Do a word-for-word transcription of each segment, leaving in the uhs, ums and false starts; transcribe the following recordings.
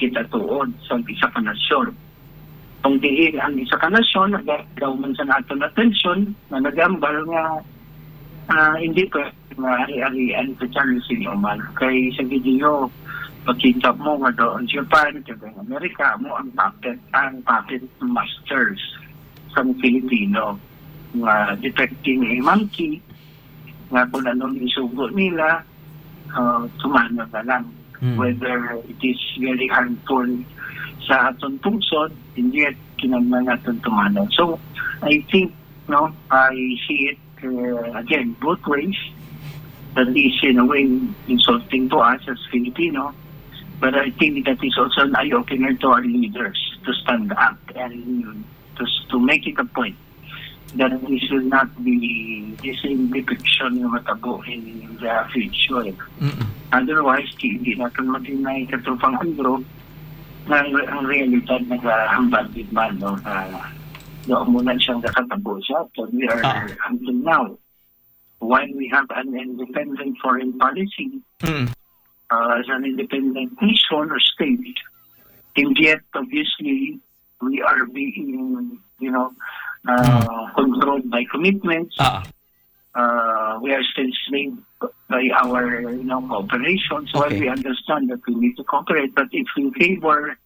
kita tuod sa isa ka nasyon. Kung diin ang isa ka nasyon, nagadaw man sa naton atensyon na nagambal nga, ah, hindi pa nga ari-arian sa Charles Inuman. Kay sa video, makita mo nga doon Japan, kag ang Amerika, mo ang puppet, ang puppet masters sa Filipino. Nga detecting a monkey, nga kung anong isugo nila, uh, tumano na lang. Hmm. Whether it is very harmful sa aton pungsod, and yet kinahanglan naton tumano. So, I think, no, I see it, uh, again, both ways. That is, in a way, insulting to us as Filipino. But I think that is also an eye-opener to our leaders to stand up and to, to make it a point that this will not be the same depiction nga matabo in the future. Mm-mm. Otherwise, di, di natin matinay katropang Andrew na ang, ang realidad nagahambal din man, no, na doon mo na siyang nakatabo siya. So we are, ah, until now, while we have an independent foreign policy, mm, uh, as an independent nation or state, and yet, obviously, we are being, you know, uh, mm, controlled by commitments. Ah. Uh, we are still enslaved by our, you know, cooperation. So, okay, we understand that we need to cooperate, but if we favor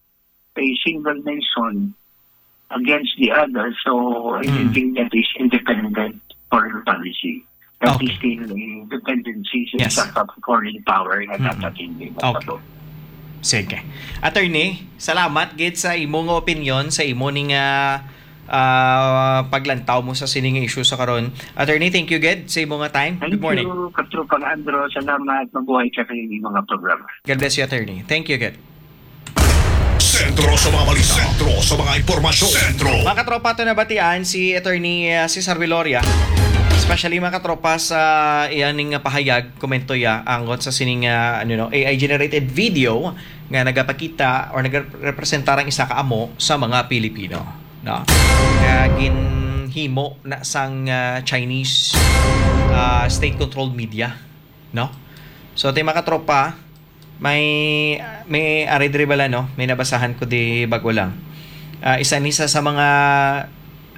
a single nation against the other, so I, mm, think that is independent foreign policy. That is, okay, Still a dependency sa, yes, isa ka foreign power nga, mm-mm, dapat hindi, okay, matabo. Sige. Attorney, salamat gid sa imo nga opinyon, sa imo ning, ah, ah, paglantaw mo sa sining issue sa karon. Attorney, thank you gid sa imo nga time. Good morning. Thank you, Katropang Andro. Salamat. Mabuhay ka sa inyong mga programa. God bless you, Attorney. Thank you gid. Sentro sa mga balita. Sentro sa mga impormasyon. Sentro. Mga katropa, ato nabatian si Attorney, ah, Cesar Viloria. Especially, mga katropa, sa iya ning pahayag, komento ya, angkon sa sining, ah, ano, no, A I generated video nga nagapakita or nagrepresentar ang isa ka amo sa mga Pilipino, no? Nga ginhimo na sang, ah, Chinese, ah, state-controlled media, no? So, ti, mga katropa, may, may ari diri bala, no? May nabasahan ko di bago lang. Ah, isa ni sa, sa mga,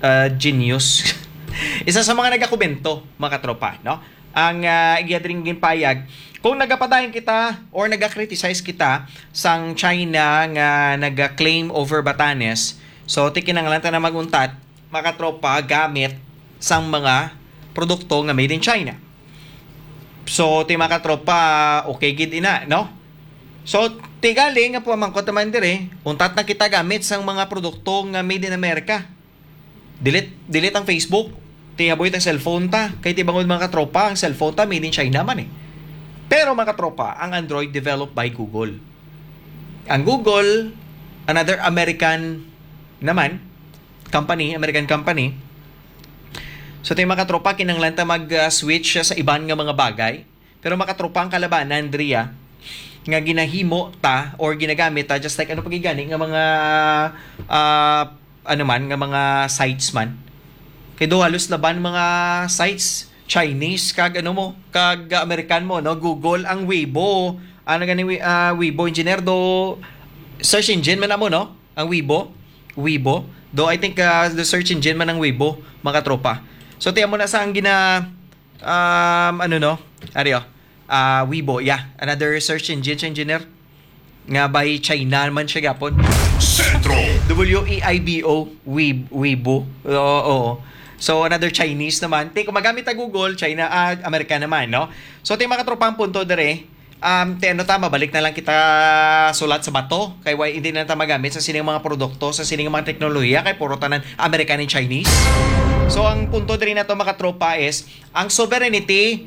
ah, genius. Isa sa mga nagakomento, mga katropa, no? Ang, ah, iya diri nga ginpayag, kung nagapadayon kita or naga-criticize kita sang China nga naga-claim over Batanes, so, ti kinahanglan ta na mag-untat, mga katropa, gamit sang mga produkto nga made in China. So, ti, mga katropa, okay gid ina, no? So, ti gali nga pamangkot naman diri, untat na kita gamit sang mga produkto nga made in America. Delete, delete ang Facebook. Ti, haboy ta cellphone ta. Kay ti bangod, mga katropa, ang cellphone ta made in China man eh. Pero, mga katropa, ang Android developed by Google. Ang Google, another American naman, company, American company. So, ti, mga katropa, kinahanglan ta mag, ah, switch sa iban nga mga bagay. Pero, mga katropa, ang kalabanan diri, ah, nga ginahimo ta or ginagamit ta, just like ano pa gid gani nga mga, ah, ano man, nga mga sites man. Kay do halos laban mga sites, Chinese, kag ano mo, kag American mo, no? Google, ang Weibo, ano gani, Wei-, ah, Weibo engineer, do search engine man na mo, no? Ang Weibo, Weibo. Do I think, ah, the search engine man ang Weibo, mga katropa. So, tiyan mo na sa ang gina-, um, ano, no? Ari, oh. Ah, Weibo, yeah. Another search engine, engineer. Nga by China man siya gapon. Sentro. W E I B O, Web-, Weibo. Oo, oo. So, another Chinese naman. Ti, kung magamit ta Google, China, ah, Amerika naman, no? So, ti, mga katropang punto dire, um, ti, ano ta, mabalik na lang kita sulat sa bato. Kay why, hindi na ta magamit sa sining mga produkto, sa sining mga teknolohiya, kay puro tanan American and Chinese. So, ang punto dire na to, mga katropa, is ang sovereignty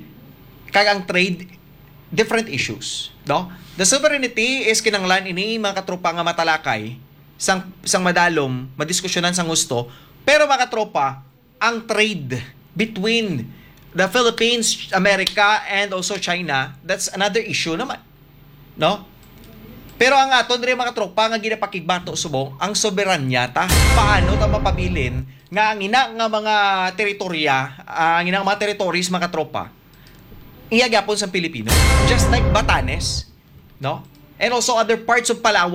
kag ang trade, different issues, no? The sovereignty is kinanglan ini, mga katropa, nga matalakay sang, sang madalom, madiskusyonan sang gusto. Pero, mga katropa, ang trade between the Philippines, America, and also China, that's another issue naman, no? Pero ang aton diri, mga katropa, nga ginapakigbato subong ang soberanya ta. Paano ta mapabilin nga ang ina nga mga teritorya, ah, ang ina nga mga territories, mga katropa, iya gyapon sa Pilipino. Just like Batanes, no? And also other parts of Palawan